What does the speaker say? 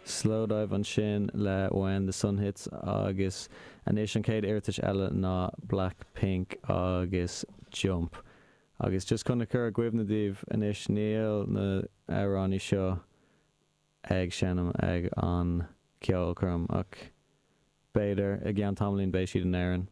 Slowdive ansin le When the Sun Hits agus anois an chéad iarratas eile ná Blackpink agus Jump. Agus just chun a chur i gcuimhne daoibh anois níl na amhráin seo ag seinm ag an ceolchoirm ach b'fhéidir i gceann tamaillín beidh siad in Éirinn.